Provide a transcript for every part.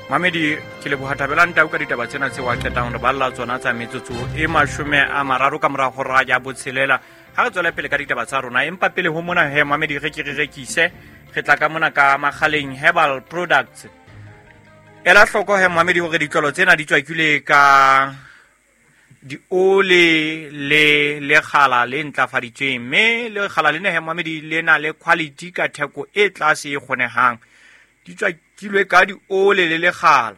Mamedi, ke leboha Thabelang Tau ka ditaba tsena tseo a qetang re balla tsona tsa metsotso e 30 ka mora hora ya botshelela. Ha re tswele pele ka ditaba tsa rona, empa pele ho mona he mamedi re ke re rekise, re tla ka mona ka Makgaleng Herbal Products. Ela hloko he mamedi hore ditlolo tsena di tswakilwe ka diole le lekgala le ntlafaditsweng, mme lekgala lena he mamedi le na le quality ka theko e tlase e kgonehang. Di tswakilwe ka diole le lekgala.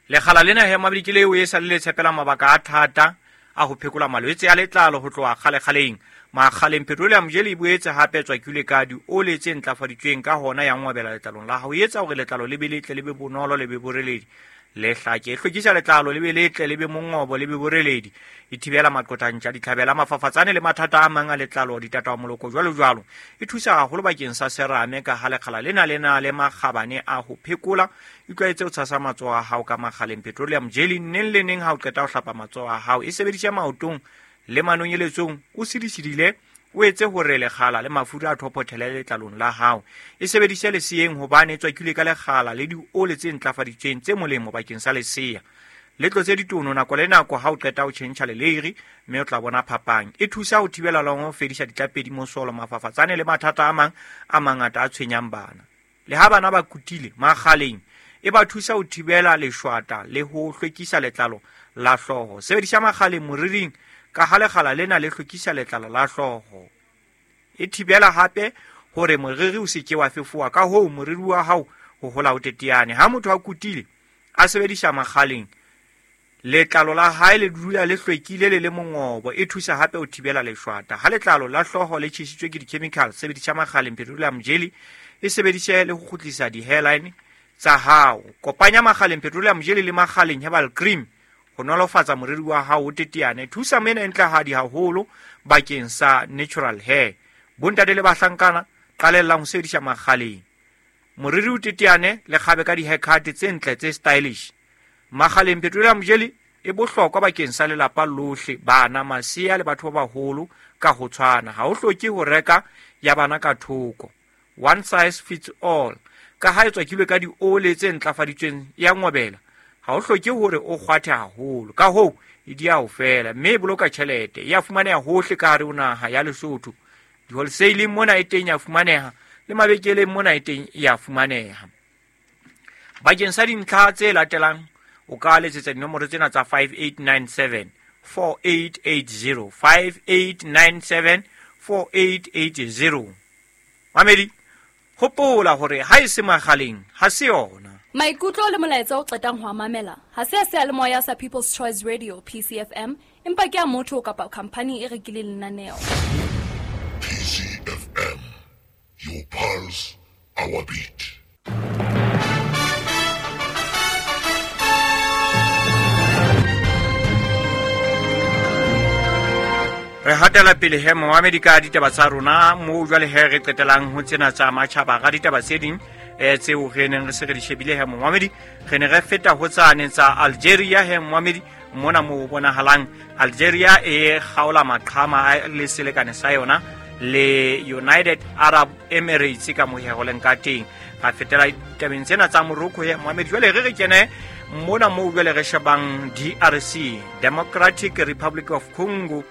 Lekgala lena he mamedi ke leo e sa le le tshepela mabaka a thata a ho phekola malwetse a letlalo ho tloha kgalekgaleng. Makgaleng petroleum jelly e boetse hape tswakilwe ka diole tse ntlafaditsweng, ka hona ya ngwabela letlalong la hao, e etsa hore letlalo le be letle, le be bonolo, le be boreledi, le hlake. E hlwekisa letlalo le be letle, le be mongobo, le be boreledi. E thibela maqothantša, ditlhabela, mafafatsane le mathata a mang a letlalo, ditatawa moloko jwalo jwalo. E thusa haholo bakeng sa serame ka ha lekgala lena le na le makgabane a ho phekola. Itlwaetse ho tshasa matsoho a hao ka Makgaleng petroleum jelly neng le neng ha o qeta ho hlapa matsoho a hao. E sebedise maotong le manonyeletsong o sidisidile, o etse hore lekgala le mafura a thophothele letlalong la hao. E sebedise leseeng hobane e tswakilwe ka lekgala le diole tse ntlafaditsweng tse molemo bakeng sa lesea. Le tlotse ditono nako le nako ha o qeta ho tjhentjha leleiri, mme o tla bona phapang. E thusa ho thibela le ho fedisa ditlapedi, mosolo, mafafatsane le mathata a mang a mangata a tshwenyang bana. Le ha bana ba kutile makgaleng, e ba thusa ho thibela leshwata le ho hlwekisa letlalo la hlooho. Sebedisa makgaleng moriring ka ha lekgala lena le hlwekisa letlalo la hlooho. E thibela hape hore moriri o se ke wa fefowa, ka hoo moriri wa hao ho hola o teteane. Ha motho a kutile a sebedisa makgaleng, letlalo la hae le dula le hlwekile le le mongobo. E thusa hape ho thibela leshwata. Ha letlalo la hlooho le tjhesitswe ke di-chemical, sebedisa Makgaleng petroleum jelly. E sebedise le ho kgutlisa di-hairline tsa hao. Kopanya Makgaleng petroleum jelly le Makgaleng herbal cream ho nolofatsa moriri wa hao o teteane. Thusa mena e ntlehadi haholo bakeng sa natural hair. Bontate le bahlankana, qalellang ho sebedisa Makgaleng. Moriri o teteane le kgabe ka di-haircut tse ntle tse stylish. Makgaleng petroleum jelly e bohlokwa bakeng sa lelapa lohle, bana, masea le batho ba baholo ka ho tshwana. Ha o hloke ho reka ya bana ka thoko. One size fits all. Ka ha e tswakilwe ka diole tse ntlafaditsweng ya ngobela, ha o hloke hore o kgwathe haholo. Ka hoo, e di a ho fela, mme e boloka tjhelete. E a fumaneha hohle ka hare ho naha ya Lesotho. Di-wholesale mona e teng ya fumaneha, le mabenkeleng mona e teng ya fumaneha. Bakeng sa dintlha tse latelang, o ka letsetsa dinomoro tsena tsa 5897 4880, 5897 4880. Mamedi, hopola hore ha e se Makgaleng ha se yona. Maikutlo le molaetsa o qetang ho a mamela ha se a seyalemoya sa People's Choice Radio PCFM, empa ke a motho kapa khampani e rekileng lenaneo. PCFM, your pulse, our beat. Re hatela pele he moamedi ka ditaba tsa rona moo jwale he re qetelang ho tsena tsa matjhaba ga ditaba tse ding tseo re neng re se re di shebile he moamedi. Re ne re feta ho tsane tsa Algeria he moamedi, mona mo bonahalang Algeria e kgaola maqhama le selekane sa yona le United Arab Emirates ka moheho leng ka teng. Ra fetela ditabeng tsena tsa Morocco he moamedi. Jwale re re kene mona moo jwale re shebang DRC, Democratic Republic of Congo.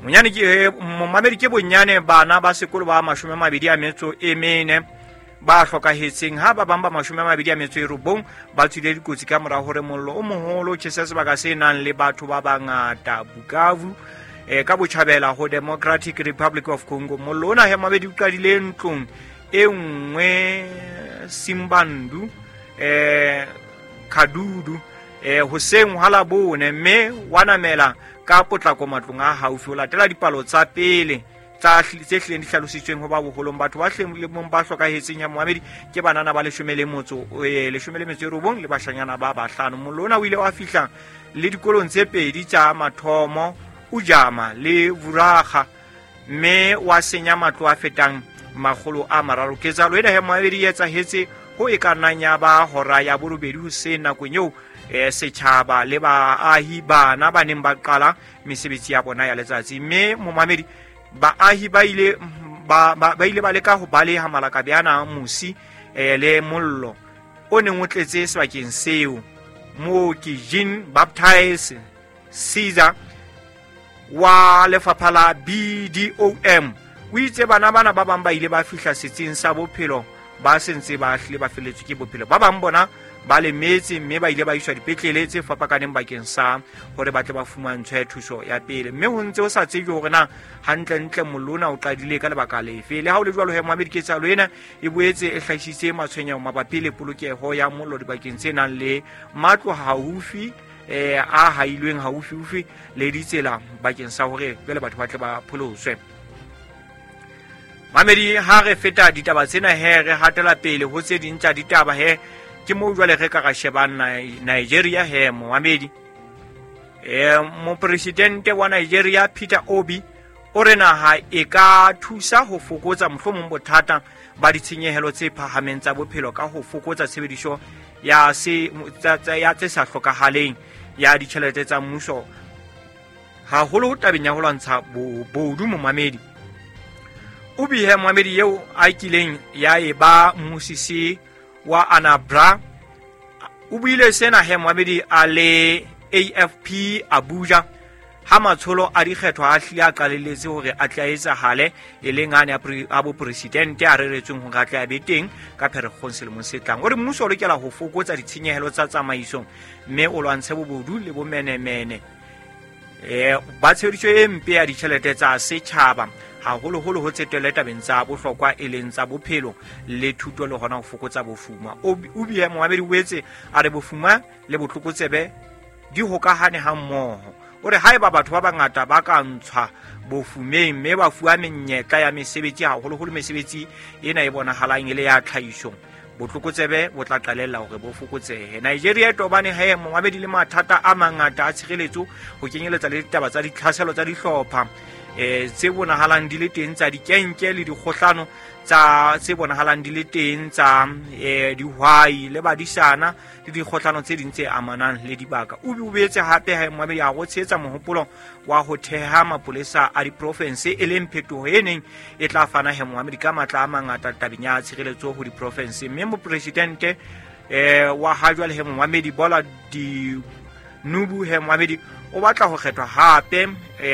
Monyane ke momamedi ke bonyane bana ba sekolo ba 24 ba hlokahetseng, ha ba bang ba 29 ba tswile dikotsi ka mora hore mollo o moholo o tjhese sebaka se nang le batho ba bangata Bukavu, ka botjhabela ho Democratic Republic of Congo. Mollo ona he mabedi o qadile ntlong e nngwe Simbandu, Kadudu, hoseng hwa Labone, mme wa namela ka potlako matlong a haufi. Ho latela dipalo tsa pele tsa tse hlileng di hlalositsweng ho ba boholong, batho ba hlileng ba hlokahetseng ya moamedi ke banana ba 19 le bashanyana ba 5. Mollo ona o ile wa fihla le dikolong tse pedi tsa mathomo, Ujama le Vuraga, mme wa senya matlo a fetang 300. Ketsahalo ena he moamedi e etsahetse ho e ka nnang ya ba hora ya 8 hoseng, nakong eo setjhaba le baahi bana ba neng ba qala mesebetsi ya bona ya letsatsi. Mme momamedi, baahi ba ile ba ile ba leka ho baleha malakabe ana a mosi le mollo. o neng o tletse sebakeng seo. Mooki Jean Baptiste Caesar wa lefapha la BDOM o itse bana bana ba bang ba ile ba fihla setsing sa bophelo ba sentse ba hlile ba feletswe ke bophelo. Ba bang bona ba lemetse mme ba ile ba iswa dipetlele tse fapakaneng bakeng sa hore ba tle ba fumantshwe thuso ya pele. Mme ho ntse ho sa tsejwe hore na hantlentle mollo ona o qadile ka lebaka lefe. Le ha ho le jwalo he, moamedi, ketsahalo ena e boetse e hlahisitse matshwenyeho mabapi le polokeho ya mollo dibakeng tse nang le matlo haufi, a hailweng haufiufi le ditsela bakeng sa hore jwale batho ba tle ba pholoswe. Mamedi, ha re feta ditaba tsena he, re hatela pele ho tse ding tsa ditaba he. Ke moo jwale re ka ra shebang Nigeria he, momamedi. Mopresidente wa Nigeria Peter Obi o re naha e ka thusa ho fokotsa mohlomong bothata ba ditshenyehelo tse phahameng tsa bophelo ka ho fokotsa tshebediso ya se ya tse sa hlokahaleng ya ditjhelete tsa mmuso, haholo tabeng ya ho lwantsha bobodu. Momamedi, o bihe momamedi eo a kileng ya e ba mmusisi wa Anambra o buile sena he, momamedi, a le AFP Abuja ha matsholo a dikgetho a hlile a qalelletse hore a tle a etsahale, e leng ane a bopresidente a reretsweng hore a tle a be teng ka Pherekgong selemong se tlang. O re mmuso o lokela ho fokotsa ditshenyehelo tsa tsamaiso mme o lwantshe bobodu le bomenemene ba tshebediso e mpe ya ditjhelete tsa setjhaba, haholoholo ho tsetele tabeng tsa bohlokwa e leng tsa bophelo le thuto le hona ho fokotsa bofuma. O bie momamedi o boetse a re bofuma le botlokotsebe di hokahane ha mmoho. O re haeba batho ba bangata ba ka ntshwa bofumeng mme ba fuwa menyetla ya mesebetsi, haholoholo mesebetsi ena e bonahalang e le ya tlhahiso, botlokotsebe bo tla qalella hore bo fokotsehe. Nigeria e tobane he, momamedi, le mathata a mangata a tshireletso, ho kenyeletsa le ditaba tsa ditlhaselo tsa dihlopha tse bonahalang di le teng tsa dikenke le dikgohlano tsa tse bonahalang di le teng tsa dihwai le badisana le dikgohlano tse ding tse amanang le dibaka. O boetse hape ha momamedi a go tshehetsa mohopolo wa ho theha mapolesa a diprofense, e leng phetoho e neng e tla fana he, momamedi, ka matla a mangata tabeng ya tshireletso ho diprofense. Mme mopresidente wa ha jwale he, momamedi, Bola Tinubu he, momamedi, o batla ho kgethwa hape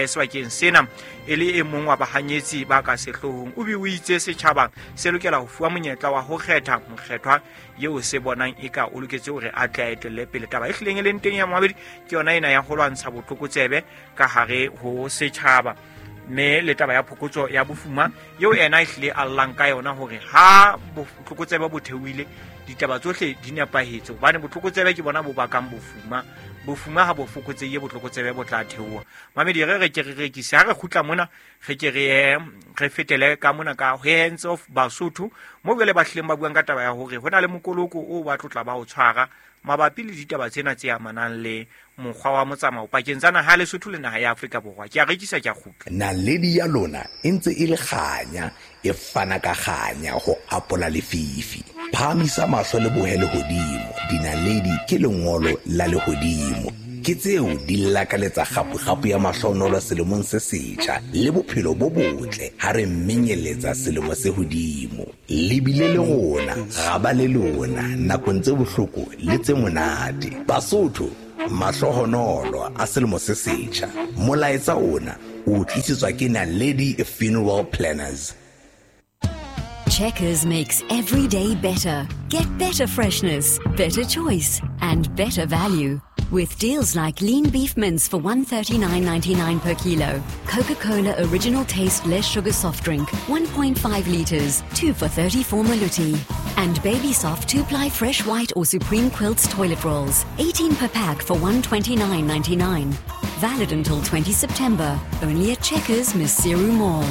sebakeng sena e le e mong wa bahanyetsi ba ka sehloohong. O be o itse setjhaba se lokela ho fuwa monyetla wa ho kgetha mokgethwa eo se bonang eka o loketse hore a tle a etelle pele. Taba e hlileng e leng teng ya momamedi ke yona ena ya ho lwantsha botlokotsebe ka hare ho setjhaba, mme le taba ya phokotso ya bofuma eo ena e hlile a llang ka yona hore ha botlokotsebe bo theohile ditaba tsohle di nepahetse, hobane botlokotsebe ke bona bo bakang bofuma. Bofuma ha bo fokotsehile, botlokotsebe bo tla theoha. Mamedi, re re ke re rekise, ha re kgutla mona re ke re re fetele ka mona ka Hands of Basotho, mo jwale ba hlileng ba buang ka taba ya hore ho na le mokoloko o ba tlotla ba o tshwara mabapi le ditaba tsena tse amanang le mokgwa wa motsamao pakeng tsa naha ya Lesotho le naha ya Afrika Borwa. Ke a rekisa, ke a kgutla. Naledi ya lona e ntse e le kganya, e fana ka kganya ho apola lefifi. Phahamisa mahlo le bohe lehodimo, dinaledi ke lengolo la lehodimo. Ke tseo di lakaletsa kgapu-kgapu ya mahlohonolo selemong se setjha le bophelo bo botle ha re menyeletsa selemo se hodimo. Le bile le rona, ra ba le lona nakong tse bohloko le tse monate. Basotho, mahlohonolo a selemo se setjha. Molaetsa ona o tlisetswa ke Naledi Funeral Planners. Checkers makes every day better. Get better freshness, better choice, and better value. With deals like lean beef mince for 139.99 per kilo, Coca-Cola original taste less sugar soft drink 1.5 liters, 2 for 34 maloti, and Baby Soft 2-ply fresh white or Supreme Quilts toilet rolls, 18 per pack for 129.99. Valid until 20 September. Only at Checkers, Maseru Mall.